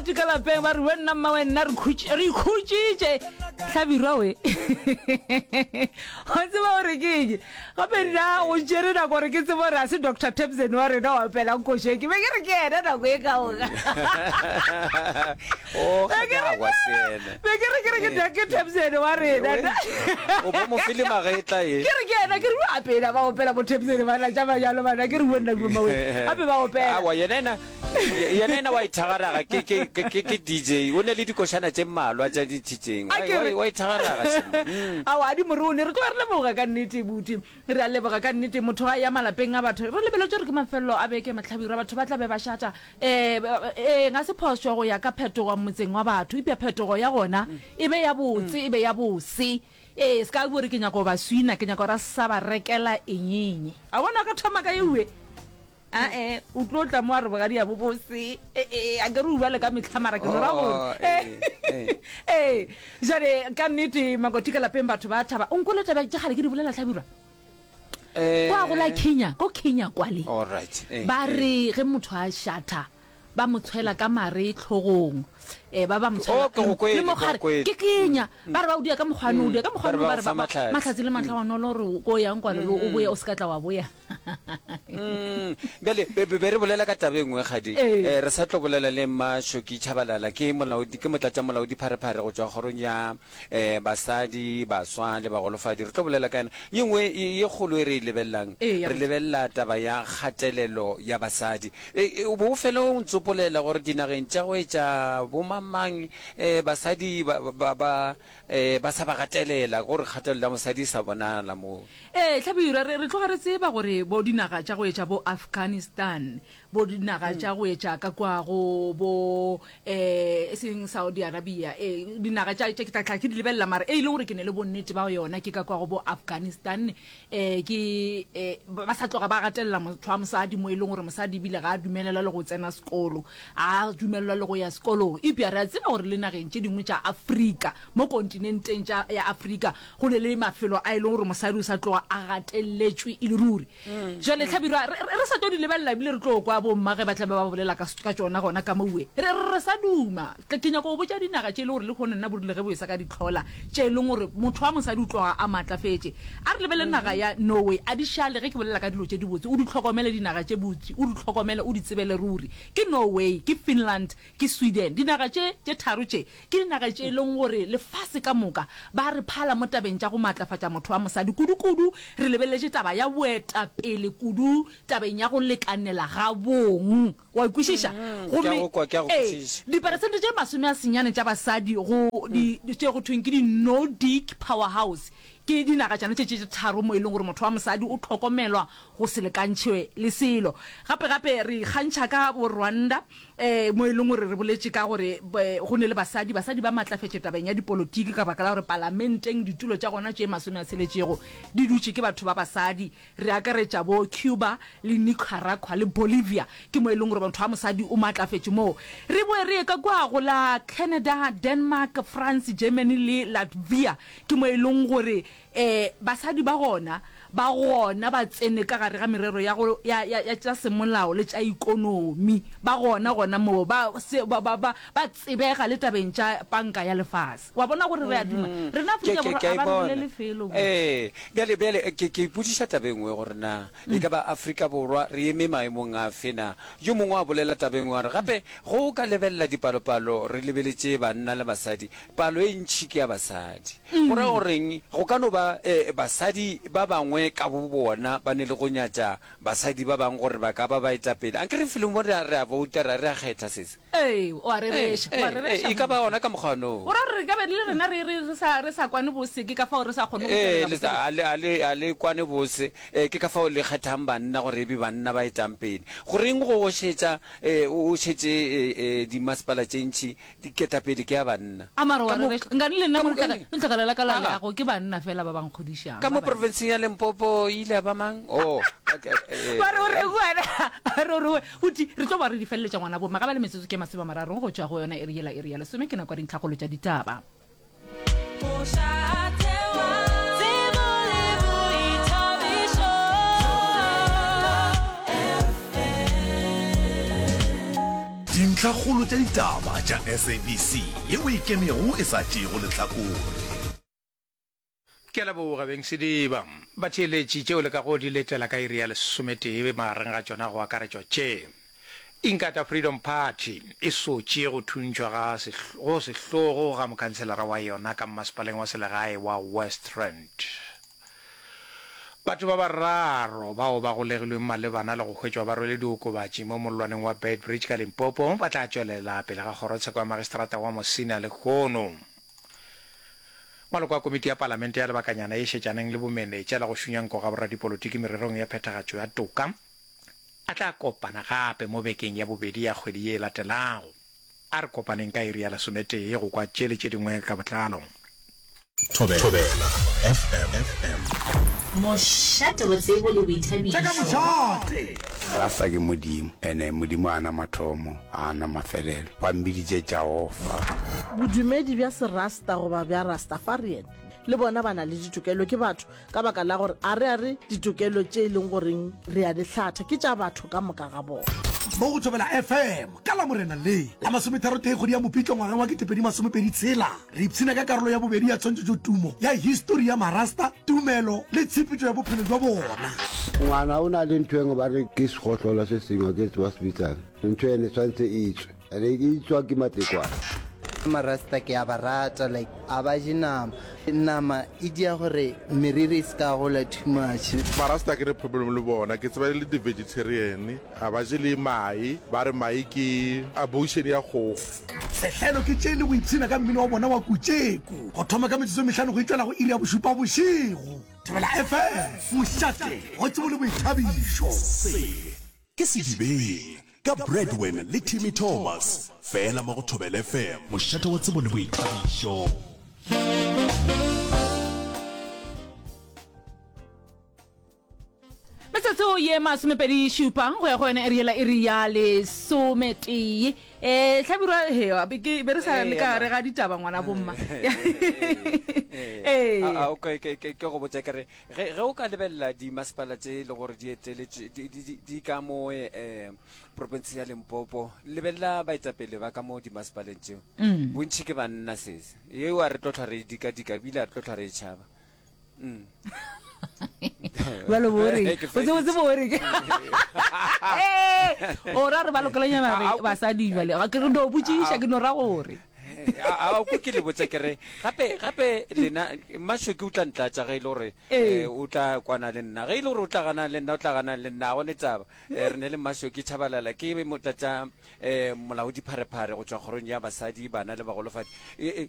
Makoti ka lapeng ba re we nna mma we nna re khutši re ikhutšitše hlabirwa we wa tseba gore ke eng gape nna go tšere nako gore ke tsebe gore a se Doctor Tebsen wa rena wa opelang košo ke be ke re ke yena nako e ka moka Oh, Be ke re ga se yena. be ke re ke re ke ke Tebsen wa rena O bo mo file magetla e. ke re ke yena ke re gape na ba opela bo Tebsen bana tša bajalo bana ke re we nna mma we gape ba opela Awa yena ena yena ena wa ithagaraga ke ke ke ke ke DJ o ne le dikošana tše mmalwa tša dithitšeng A ke re- wa ithagaraga shem. Mm. Aowa, a di morone. Re tloga re leboga ka nnete, buti. Re a leboga ka nnete. Motho a ya malapeng a batho. Re lebeletše gore ke mafelelo a beke, Mahlabirwa. Batho ba tla be ba šata. Ee, ee, ga se phošo go ya ka phetogo motseng wa batho. Eupša phetogo ya gona e be ya botse, e be ya bose. Ee, se ka bo re ke nyaka go ba swina, ke nyaka gore a sa ba rekela eng-eng. A bona ka thoma ka eue. Ae, o tlo tla mo a re bogadi ya bo bose. Ee, a ke re o bale ka mehla mara ke no ra gore. Oh, ee, ee. Ee, jale ka nnete Makoti ka lapeng batho ba thaba. O nkwele taba tša kgale ke di bolela Hlabirwa. Eh. Kwa go la Kenya, ko Kenya kwale. All right. Eh, Ba eh. re ge motho a shatha ba mo tshwela ka mare tlhogong. Eh, ba ba mo tshwela Oh, ke go kwele, le mo ke go gare. kwele. Ke Kenya. Ba re ba o dia ka mokgwa no, o dia ka mokgwa Ba re no ba ba go re fa ba mahlatse. mahlatse le matlhagonolo gore ko yang kwale o boye o se ka tla wa boya. Mm, bjale be be re bolela ka taba e nngwe kgadi Ee. eh, re sa tlo bolela le Mmashoki Tshabalala ke molaodi ke motlatša molaodi pharephare go tšwa kgorong ya eh, basadi baswa le bagolofadi re tlo bolela ka yena ye nngwe ye ye kgolo e re e lebelelang Ee, ya re botse. lebelela taba ya kgatelelo ya basadi e, e, o bo o fele o ntsopolela gore dinageng tša go etša bomangmang eh, basadi ba, ba, ba, eh, ba sa ba gatelela gore kgatelelo ya mosadi e sa bonala moo Ee, Hlabirwa, re, re tloga re tseba gore bo dinaga tša go etša bo Afghanistan, bo dinaga tša go etša ka kua go bo, eh, e seng Saudi Arabia, ee, dinaga tša, tša ke tla tla ke di lebelela, mara e e leng gore ke ne le bonnete ba yona ke ka kua go bo Afghanistan, eh, ke, eh, ba sa tloga ba gatelela motho wa mosadi mo e leng gore mosadi ebile ga a dumelelwa le go tsena sekolo, ga a dumelelwa le go ya sekolong. Eupša re a tseba gore le nageng tše dingwe tša Afrika, mo kontinenteng tša, ya Afrika, Go ne le mafelo a e leng gore mosadi o sa tloga a gateletšwe e le ruri. Jwale Hlabirwa, re, re, re sa tlo di lebelela ebile re tlo kwa bomma ge ba tla be ba bolela ka, ka tšona gona ka mowe. Re, re, re sa duma. Ke, ke nyaka go botša dinaga tše e le gore lehono nna bo rile ge bo esa ka di hlola, tše e leng gore motho wa mosadi o tloga a maatlafetše. A re lebelele naga ya Norway. A di šale ge ke bolela ka dilo tše dibotse. O di hlokomele dinaga tše botse, o di hlokomele, o di tsebele ruri. Ke Norway, ke Finland, ke Sweden. Dinaga tše, tše tharo tše Ke dinaga tše e leng gore lefase ka moka ba re phala mo tabeng tša go maatlafatša motho wa mosadi, kudu-kudu re lebeletše taba ya boetapele kudu tabeng ya go lekanela ga bong. Wa e kwešiša? Ke a go kwa, ke a go ee, kwešiša. diperesente tše 90 tša basadi go di, tše go thweng ke di-Nordic powerhouse, ke dinaga tšona tše tše tharo mo e leng gore motho wa mosadi o hlokomelwa go se lekantšhwe le selo. Gape-gape re ikgantšha ka bo Rwanda, Ee, mo e leng gore re boletše ka gore go ne le basadi, basadi ba matlafetše tabeng ya dipolotiki ka baka la gore palamenteng ditulo tša gona tše masome a tsheletšego di dutše ke batho ba basadi. Re akaretša bo Cuba le Nicaragua le Bolivia, ke mo e leng gore motho wa mosadi o matlafetše moo. Re boe re ye ka kua go la Canada, Denmark, France, Germany le Latvia, ke mo e leng gore Ee, basadi ba gona ba gona ba tsene ka gare ga merero ya go, ya, ya, ya tša semolao le tša ikonomi. Ba gona gona moo, ba, se, ba, ba, ba, ba tsebega le tabeng tša panka ya lefase. Wa bona gore re a duma? Rena Ke, Afrika ke, Borwa ke a a e ba re bona. bolele felo mo. Ee, bjale, bjale ke, ke ipotšiša taba e nngwe gore na e ka ba Afrika Borwa re eme maemong afe na? Yo mongwe a bolela taba e nngwe a re, gape ge o ka lebelela dipalopalo re lebeletše banna le basadi, Palo e ntši ke ya basadi. Go ra goreng? Go ka no ba basadi ba bangwe ka bobona ba ne le go nyatša basadi ba bangwe gore ba ka ba baetapele. Anke re felong mo re a, re a bouta, re a, re a kgetha, sesi. Ee, o a rereša, o a rereša. Ee, e ka ba gona ka mokgwa no. O ra gore re ka be le rena re, re, re sa, re sa kwane bose, ke ka fao re sa kgone go Ee, tšwelela le sa, bose. a le, a le, a le kwane bose, ee, ke ka fao le kgethang banna gore e be banna ba etang pele. Goreng go o šetša, ee, o, o šetše, ee, ee, dimasepala tše ntši Diketapele ke ya banna. A mara wa Ka mo, rereša. Nkane le nna ka mo mo, letlakala la ka la Aga. leago ke banna fela ba ba nkgodišang, Ka ba mo banna. profenseng ya Limpopo e ile ya ba mang? Oh, okay, eh. Ba re o reng wena? Ba re o reng wena? Buti, re tlo ba re di feleletša ngwana bo mma. Ga ba le metsotso ke masomemararo go tšwa go yona iri yela, iri ya lesome ke nako ya dintlhakgolo tša ditaba. Dintlhakgolo tša ditaba tša SABC yeo e ikemego e sa tšeego lehlakore. Ke a leboga, beng Sediba. Batheeletši, tšeo le kago di letela ka iri ya lesometee magareng ga tšona go akaretšwa tše, Inkatha Freedom Party e sotše go thuntšhwa ga go sehlogo ga mokhanselara wa yona ka mmasepaleng wa selegae wa West Rand. Batho ba bararo bao ba golegilweng malebana le go hwetšwa ba rwele diokobatši mo mollwaneng wa Beitbridge ka Limpopo ba tla tšwelela pele ga kgorotsheko ya magistrata wa Musina lehono. Maloko a komiti ya palamente ya lebakanyana ye šetšaneng le bomenetša le go šunya nko ga boradipolotiki mererong ya phethagatšo ya toka a tla kopana gape mo bekeng ya bobedi ya kgwedi ye e latelago. A re kopaneng ka iri ya lesometee go kwa tše le tše dingwe ka botlalo. Thobela FM. Mošate wa tsebo le boithabišo. Tša ka mošate. Rasta ke Modimo, ene Modimo ga a na mathomo, ga a na mafelelo. Ba mmiditše Jahofa. Bodumedi bja Serasta goba bja Rastafarian le bona ba na le ditokelo, ke batho, ka baka la gore a re a re ditokelo tše e leng goreng re a di hlatha ke tša batho ka moka ga bona. Mo go Thobela FM ka Lamorena le la masometharotee kgwedi ya Mopitlo ngwageng wa 2026, re ipshina ka karolo ya bobedi ya tshwantšhetšotumo ya histori ya Marasta, tumelo le tshepetšo ya bophelo bja bona. Ngwana o na le ntho engwe ba re ke segohlola se sengwe ke tseba se bitsang ntho ene tshwanetse e tswe ene e tswa ke matekwane. Marasta ke a ba rata like a ba je nama nama e dia gore meriri e se ka gola too much. Marasta ke ne problem le bona ke tseba e le di vegetarian a ba je le mae ba re mae ke abortion ya kgogo. Sehlelo ke tše le go ipshina ka mmino wa bona wa kutšeku go thoma ka metsotso e mehlano go itšwela go iri ya bošupa bošego. Thobela FM, mošate wa tsebo le boithabišo. Se ke Sedibeng ka Bradwin le Timmy Thomas, fela mo go Thobela FM, mošate wa tsebo le boithabišo. Metsotso ye masomepedi šupa go ya go yona iri yela iri ya lesometee. Eh hlabirwa he be ke be re sa le ka re ga ditaba ngwana bomma. Eh. A okay ke ke ke go botša ke re Ge, ge o ka lebelela dimasepala tše e le gore di eteletšwe, di, di, di, di ka mo eh, profenseng ya Limpopo, lebelela baetapele ba ka mo dimasepaleng tšeo. Mm. Bontši ke banna sese. Yeo a re tlo hlwa re e dikadika, ebile a re tlo hlwa re e tšhaba. Mm. Bjalo bo reng? Ke O tsebe feditše. bo reng? Eh, o ra re ba lokelanyana A- re a- basadi bjale. Ga ke re no botšiša ke no ra gore. A o ke le botse ke re gape gape lena Mmashoki o tla ntlatša ge e le gore Ee. eh, o tla kwana le nna ge e le gore o tla gana le nna o tla gana le nna ga gone taba Eh, re ne le Mmashoki Tshabalala ke motlatša eh, molaodi pharephare go tšwa kgorong ya basadi bana le bagolofadi Eh, eh,